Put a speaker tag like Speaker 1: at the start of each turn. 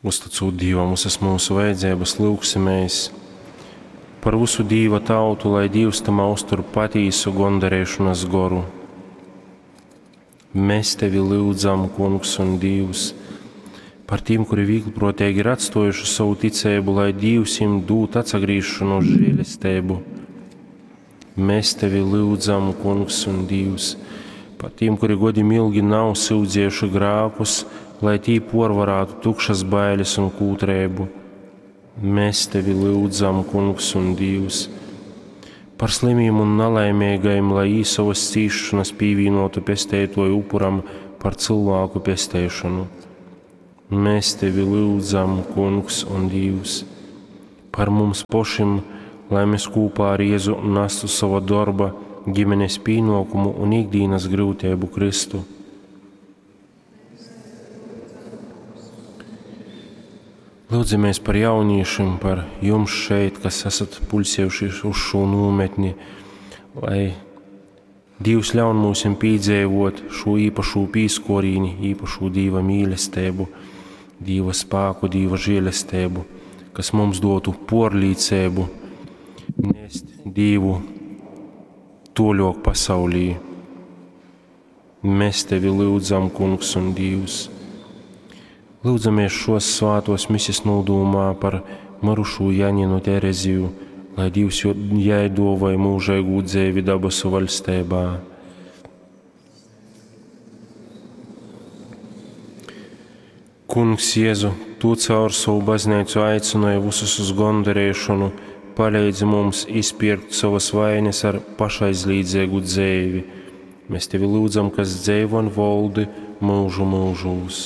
Speaker 1: Uztycūt Dīvam visas mūsu vajadzības, lūgsimies par visu Dīva tautu, lai Dīvs tamā uztur patīsu gondarīšanas goru. Mēs tevi lūdzam, Kungs un Dievs, par tiem, kuri vieglprātīgi ir atstojuši savu ticību, lai Dievs viņiem dod atsagriešanos žēlestību. Mēs tevi lūdzam, Kungs un Dievs, par tiem, kuri godim ilgi nav sūdzējuši grākus, lai tī porvarātu tukšas bailes un kūtrēbu. Mēs tevi lūdzam, Kungs un Dievs, par slimiem un nelaimīgajiem, lai īsavas cīšanas pievienotu pestētoju upuram par cilvēku pestēšanu. Mēs tevi lūdzam, Kungs un Dievs, par mums pašiem, lai mēs kopā ar Jēzu nestu sava darba, ģimenes pienākumu un ikdienas grūtību Kristu. Lūdzamies par jauniešiem, par jums šeit, kas esat pulsējušies uz šo nometni, lai Dievs ļaun mums piedzīvot šo īpašo pīskorīni, īpašo Dieva mīlestību, Dieva spēku, Dieva žēlestību, kas mums dotu porlīcību nest Dievu toļok pasaulī. Mēs tevi lūdzam, Kungs un Dievs. Lūdzamies šos svātos misis nodūmā par mirušo Janinu Tereziju, lai Dievs jai dovai mūžīgu dzēvi dabasu valstībā. Kungs Jēzu, Tu caur savu baznīcu aicināji visus uz gondarēšanu, palīdzi mums izpirkt savas vainas ar pašaizlīdzīgu dzēvi. Mēs Tevi lūdzam, kas dzēvo un valdi mūžu mūžūs.